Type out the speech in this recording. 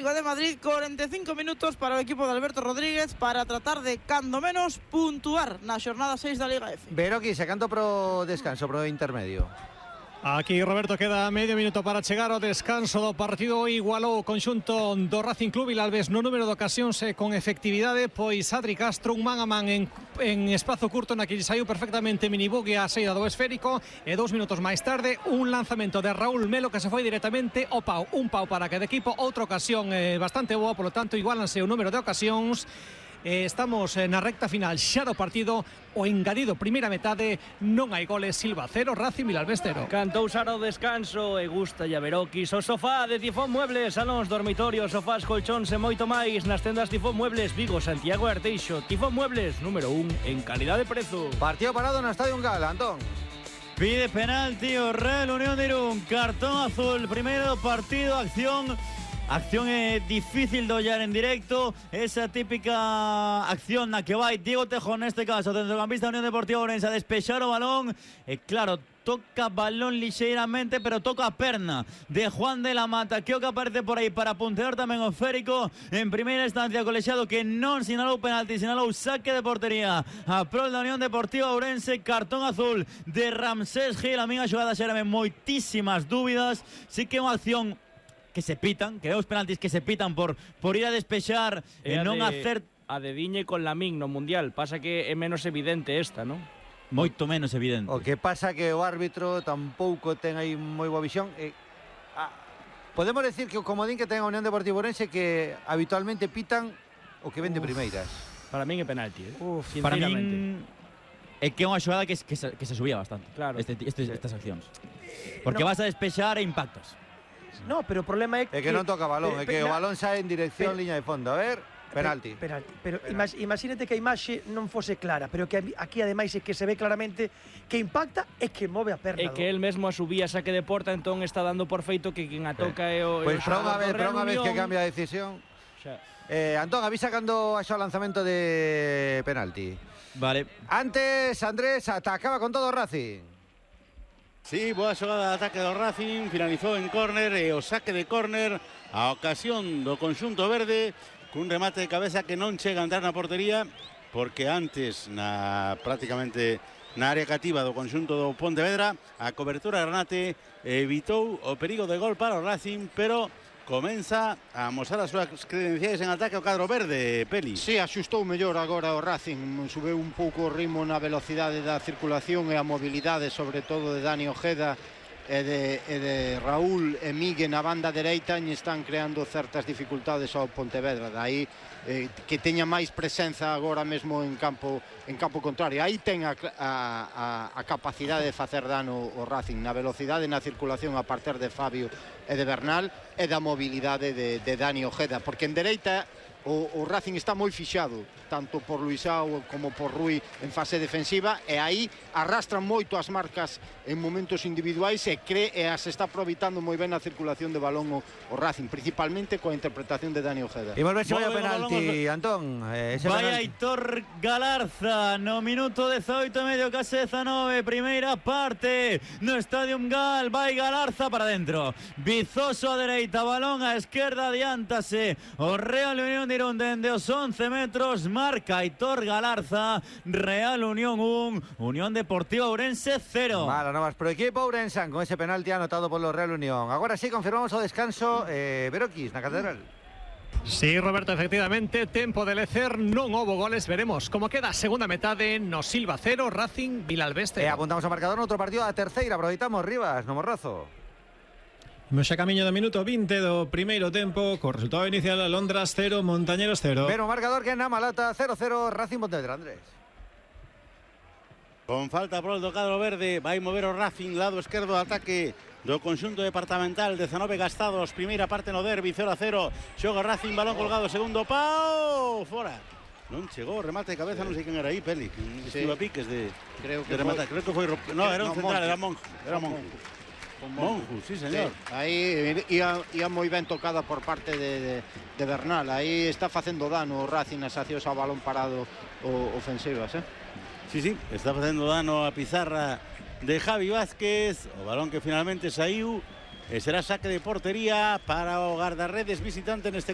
de Madrid, 45 minutos para o equipo de Alberto Rodríguez para tratar de, cando menos, puntuar na xornada 6 da Liga F. Veroqui, sacando pro descanso, pro intermedio. Aquí, Roberto, queda medio minuto para chegar ao descanso do partido. Igualou o conxunto do Racing Club Vilalbés no número de ocasións con efectividade, pois Adri Castro un man a man en espazo curto na que saiu perfectamente Minibugue a saída do esférico, e 2 minutos máis tarde un lanzamento de Raúl Melo que se foi directamente ao pau, un pau para cada equipo. Outra ocasión bastante boa, polo tanto igualanse o número de ocasións. Estamos na recta final xa do partido. O engadido primeira metade, non hai goles. Silva 0, Racing Vilalbés 0. Cantou Sara o descanso e gusta ya Veroquis. O sofá de Tifón Muebles, salóns, dormitorios, sofás, colchóns e moito máis nas tendas Tifón Muebles Vigo, Santiago e Arteixo. Tifón Muebles, número 1 en calidad de prezo. Partido parado no Estadio Ungal, Antón. Pide penalti o Real Unión de Irún, cartón azul, primeiro partido, acción difícil de ollar en directo, esa típica acción na que vai Diego Tejo, neste caso, centrocampista Unión Deportiva Ourense, a despexar o balón, e claro, toca balón lixeiramente, pero toca a perna de Juan de la Mata, que o que aparece por aí para puntear tamén o esférico. En primeira instancia, colexiado que non sinalou penalti, sinalou saque de portería a prol da Unión Deportiva Ourense. Cartón azul de Ramsés Gil. A minha xogada xerame moitísimas dúbidas. Sí que é unha acción que se pitan, que é os penaltis que se pitan por ir a despexar e non hacer... A de Diñe con Lamín no Mundial, pasa que é menos evidente esta, non? Moito menos evidente. O que pasa que o árbitro tampouco ten aí moi boa visión. Podemos decir que o comodín que ten a Unión Deportiva Ourense que habitualmente pitan o que ven de primeiras. Para min é penalti, para min é que é unha xogada que se subía bastante, claro. Estas accións. Porque vas a despexar e impactas. No, pero o problema é que non toca balón, é que o balón sae en dirección liña de fondo. A ver, penalti. Pero imagínate que a imaxe non fose clara, pero que aquí ademais é que se ve claramente que impacta e que move a perna. É que el mesmo a subía saque de porta, entón está dando por feito que quen a toca é o... Pois para unha vez que cambia a decisión. Antón, avisa cando haxa o lanzamento de penalti. Vale. Antes, Andrés, atacaba con todo o Racing. Sí, boa xogada de ataque do Racing, finalizou en córner e o saque de córner a ocasión do conxunto verde cun remate de cabeza que non chega a entrar na portería porque antes prácticamente na área cativa do conxunto do Pontevedra a cobertura de Renate evitou o perigo de gol para o Racing, pero comeza a mostrar as súas credenciais en ataque ao cadro verde, Peli. Sí, axustou mellor agora o Racing, subeu un pouco o ritmo na velocidade da circulación e a mobilidade, sobre todo de Dani Ojeda e de Raúl e Migue na banda dereita, e están creando certas dificultades ao Pontevedra, daí que teña máis presenza agora mesmo en campo contrario. Aí ten a capacidade de facer dano o Racing na velocidade, na circulación a partir de Fabio e de Bernal e da mobilidade de Dani Ojeda, porque en dereita o Racing está moi fixado, tanto por Luisao como por Rui en fase defensiva, e aí arrastran moito as marcas en momentos individuais e as está aproveitando moi ben a circulación de balón o Racing, principalmente coa interpretación de Dani Ojeda. E volve a vai a penalti, Antón. Vai Aitor Galarza no minuto 18 e medio, case 19, primeira parte no Estadio Ungal. Vai Galarza para dentro, Vizoso a dereita, balón a esquerda, adiántase o Real Unión de Irún dende os 11 metros, marca Aitor Galarza. Real Unión 1, Unión Deportiva Ourense 0. Mala novas pro equipo ourensán con ese penalti anotado polo Real Unión. Agora sí, confirmamos o descanso. Veroquis, na Catedral. Sí, Roberto, efectivamente, tempo de lecer, non houbo goles. Veremos como queda a segunda metade no Silva 0, Racing Vilalbés 0. Apuntamos ao marcador noutro partido a terceira, aproveitamos Rivas, no Morrazo. Imos xa camiño do minuto 20 do primeiro tempo, co resultado inicial: Alondras 0, Montañeros 0. Pero o marcador que na Malata 0-0, Racing Pontevedra, Andrés. Con falta por do cadro verde, vai mover o Racing, lado esquerdo de ataque do conxunto departamental, 19 gastados, primeira parte no derbi, 0-0, xoga Racing, balón colgado, segundo pau, fora. Non chegou o remate de cabeza, non sei quen era aí, Peli, estivo a piques de rematar, creo que foi, no, era un central, era Monjo. Monjo, sí, señor. Sí, aí ia moi ben tocada por parte de Bernal. Aí está facendo dano o Racing nas accións ao balón parado ofensivas, Sí, está facendo dano a pizarra de Javi Vázquez. O balón que finalmente saiu será saque de portería para o guardarredes visitante neste